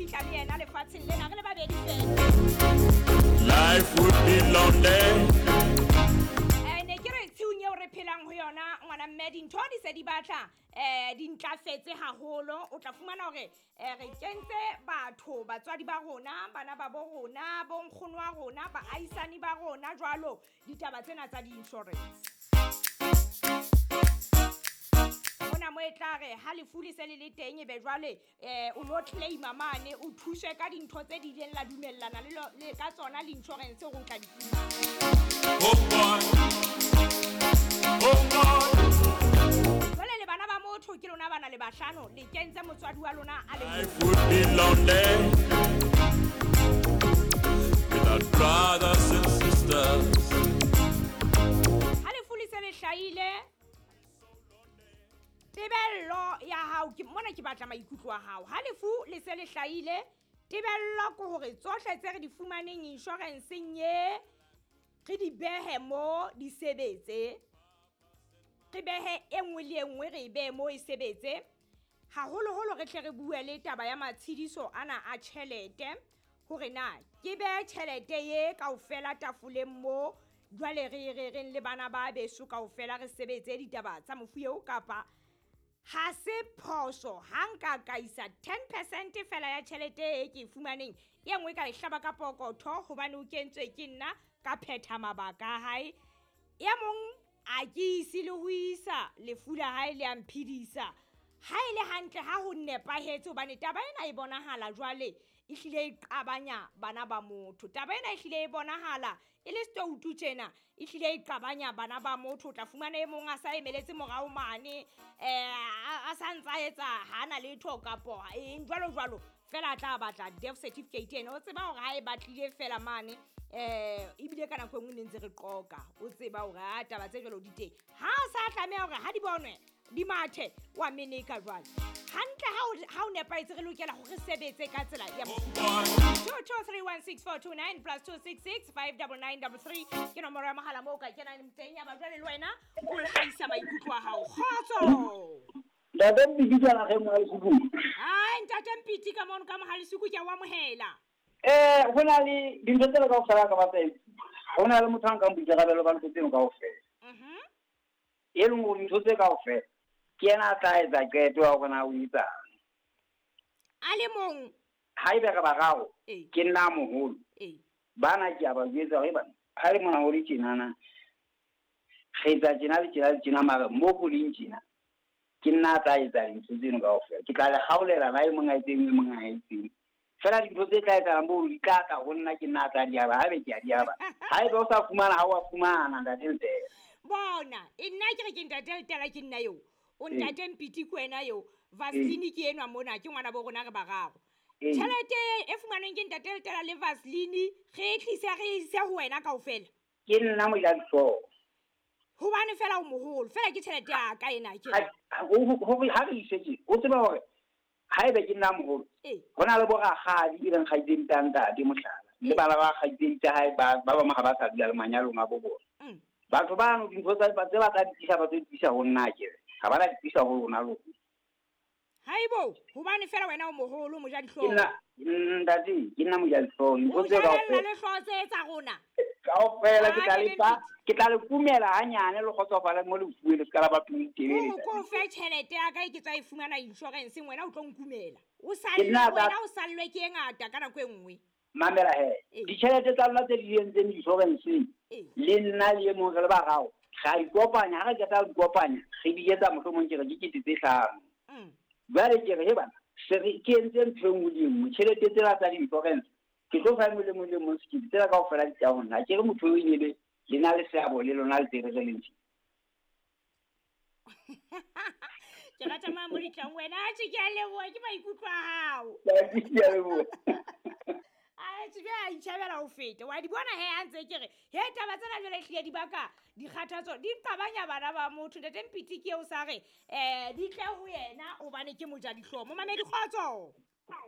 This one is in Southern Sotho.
fihla le yena lefatsheng lena re le babedi fela. Life would be lonely. Ne ke re tshiung eo re phelang ho yona ngwana mme dintho di se di batla di ntlafetse haholo. O tla fumana hore re kentse batho, batswadi ba rona, bana ba bo rona, bo nkgono wa rona, baahisani ba rona jwalo ditaba tsena tsa di-insurance. Mona mo e tla re ha lefu le se le le teng ebe jwale o lo claima mane o thuswe ka dintho tse di ileng la dumellana le ka tsona le insurance hore o tla di fumana. Oh boy. Oh boy. Jwale le bana ba motho ke lona bana le bahlano le kentse motswadi wa lona a le mong. Life would be lonely without brothers and sisters. Ha lefu le se le hlahile, tebello ya hao ke mona, ke batla maikutlo a hao. Ha lefu le se le hlahile, tebello ke hore tsohle tse re di fumaneng insurance-eng ye re di behe mo di sebetse, re behe e nngwe le e nngwe re e behe mo e sebetse. Haholoholo re tle re bue le taba ya matshediso ana a tjhelete, hore na ke behe tjhelete ye kaofela tafoleng mo jwale re re reng le bana ba beso kaofela re sebetse ditaba tsa mofu eo, kapa ha se phoso ha nka ka isa 10% fela ya tjhelete e ke e fumaneng, e nngwe ka e hlaba ka pokotho hobane o kentswe ke nna ka phetha mabaka a hae. E mong a ke ise le ho isa lefu la hae le a mphedisa. Ha e le hantle ha ho nepahetse, hobane taba ena e bonahala jwale e hlile e qabanya bana ba motho. Taba ena e hlile e bonahala e le setoutu tjena, e hlile e qabanya bana ba motho. O tla fumana e mong a sa emeletse morao mane, a sa ntsa etsa ha na letho kapo eng jwalo jwalo, fela a tla batla death certificate ena. O tseba hore ha e batlile fela mane, ebile ka nako e nngwe ne ntse re qoka, o tseba hore ha taba tse jwalo di teng, ha a sa tlameha hore ha di bonwe di mathe wa meneka jwale. Hantle ha o nepahetse re lokela hore re sebetse ka tsela ya mofuta. 2231642 plus 266 59933 ke nomoro ya mohala moo o ka kenang teng ya ba jwale le wena o hlahisa maikutlo a hao. Kgotso. Ntate Mpiti ke la re Mohalisuku. Ai ntate Mpiti ka mono ka Mohalisuku ke a o amohela. Ho na le dintho tsena kaofela ka batla. Ho na le motho a nkang boikarabelo ba ntho tseno kaofela. E leng hore dintho tse kaofela ke yena a tla etsa qeto ya hore na o etsang. A le mong. Haebe re bararo, ke nna moholo. Bana ke a ba jwetsa hore bana, ha le mona ho le tjenana, re etsa tjena le tjena le tjena, mara mo ho leng tjena, ke nna a tla etsa dintho tseno kaofela. Ke tla le kgaolela na e mong a etseng, e mong a etseng. Fela dintho tse tla etsahalang moo di tla tla ho nna, ke nna a tla di aba, haebe ke a di aba. Haebe o sa fumana, ha o a fumana, ntate Letela. Bona, e nna ke re ke ntate Letela ke nna eo. O ntate Mpiti ke wena eo. Vaseline ke enwa mona, ke ngwana bo rona re bararo. Tjhelete e fumanweng ke ntate Letela le Vaseline, re e tlise, re e ise ho wena kaofela. Ke nna mojadihlooho. Hobane fela o moholo, fela ke tjhelete ya ka ena ke. Ha re ise tje, o tseba hore haebe ke nna moholo, ho na le bo rakgadi e leng kgaitsedi tsa ntate mohlala, le bana ba kgaitsedi tsa hae ba bang ha ba sa dula le manyalong a bo bona. Batho bano dintho tse ba tla di tlisa, ba tlo di tlisa ho nna akere. Ha ba la di tlisa ho lona lona. Haibo, hobane fela wena o moholo, mojadihlooho. Ke nna, ntate, ke nna mojadihlooho. Ntho O tse jarella kaofela. le hlooho tse tsa rona. Kaofela ke tla Ah, le ke fa, Mpiti. ke tla le kumela hanyane le kgotsofale mo le fuwe, le ska la ba pelo e telele. Hore ko fe tjhelete ya ka e ke tswa e fumana insurance, wena o tlo nkumela. O Ke sallwe, nna tla wena o sallwe ke e ngata ka nako e nngwe. Mamela he. Ditjhelete tsa lona tse di entseng insurance, le nna le e mong re le bararo, re a di kopanya, ha re qeta ho di kopanya, re di etsa mohlomong ke re ke kete tse hlano. Jwale ke re, he bana, se re ke entse ntho e nngwe le e nngwe, tjhelete tsena tsa di-insurance, ke tlo fa e mong le mong le mong sekete, tsena kaofela di tla ho nna. Ke re motho eo e ne le na le seabo le lona le tsebe re le ntse. Ke rata mang mo ditlang wena, atjhe ke a leboha, ke maikutlo a hao. Ke a leboha. Atjhe, jwale a itjhabela ho feta. Wa di bona he, ha ntse ke re, he taba tsena jwale ehlile di baka dikgathatso, di qabanya bana ba motho. Ntate Mpiti ke eo sa re, di tle ho yena hobane ke mojadihlooho. Momamedi, kgotso.